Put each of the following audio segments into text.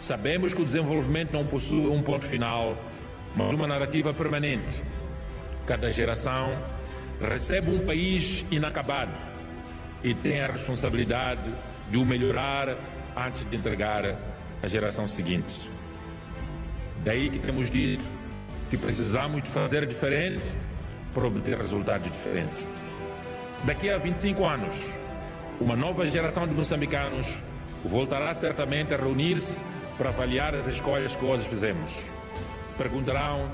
Sabemos que o desenvolvimento não possui um ponto final, mas uma narrativa permanente. Cada geração recebe um país inacabado e tem a responsabilidade de o melhorar antes de entregar à geração seguinte. Daí que temos dito que precisamos de fazer diferente para obter resultados diferentes. Daqui a 25 anos, uma nova geração de moçambicanos voltará certamente a reunir-se para avaliar as escolhas que hoje fizemos. Perguntarão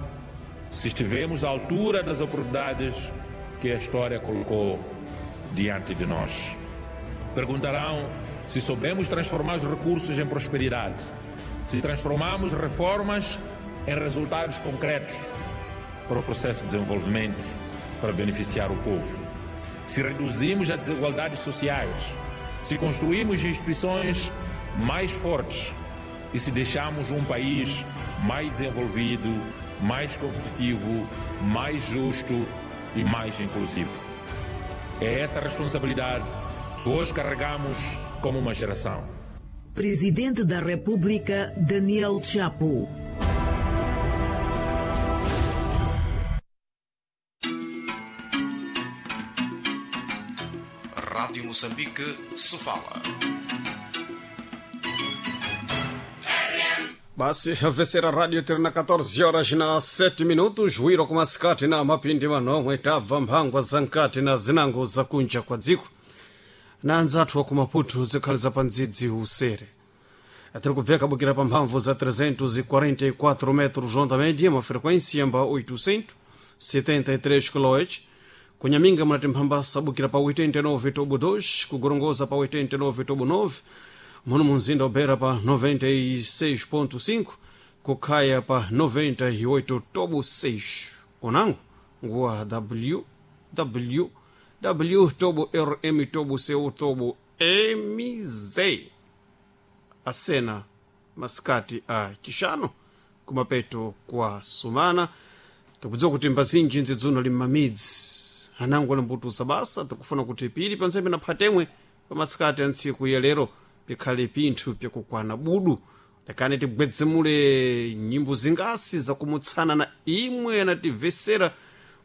se estivemos à altura das oportunidades que a história colocou diante de nós. Perguntarão se soubemos transformar os recursos em prosperidade, se transformamos reformas em resultados concretos para o processo de desenvolvimento, para beneficiar o povo, se reduzimos as desigualdades sociais, se construímos instituições mais fortes e se deixamos um país mais desenvolvido, mais competitivo, mais justo e mais inclusivo. É essa responsabilidade que hoje carregamos como uma geração. Presidente da República, Daniel Chapo. Rádio Moçambique, Sofala. Basi vesera radio tiri na 14 horas na 7 minutos wiro kumasikati na mapindi manomwe tabva mphangwa za nkati na zinango zakunja kwa dziko na anzathu wa kumaputu zikhali za pandzidzi usere tiri kubveka bukira pa mphamvu za 344 metros onda média uma frequência yamba 873 kHz kunyaminga munati mphambasa bukira pa 89 tobo 2 kugorongoza pa 89 tobo 9 muno munzinda ubera pa 96.5 kukhaya pa 98 tobo 6 unango nguwa www tobo rm tobo cu tobo mz asena masikati a chixano kumapeto kwa sumana tikudziwa kuti mbazinji nzidzuno li mmamidzi anango ali mbutuza basa tikufuna kuti pili pansembe na phatemwe pamasikati a ntsiku ya lero pikhale pinthu pyakukwana budu lekani tigwedzemule nyimbo zingasi zakumutsana na imwe anativesera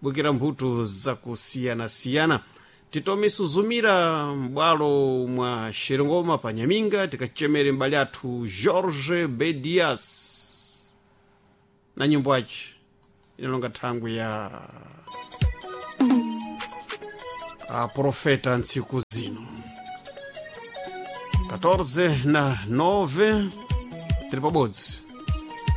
bukira mbuto zakusiyanasiyana titome suzumira m'bwalo mwa xerengoma pa nyaminga tikachemere m'bale athu Jorge Bedias na nyimbo aci inalonga thangwi ya aprofeta ntsiku zino 14 na 9 tiri pabodzi.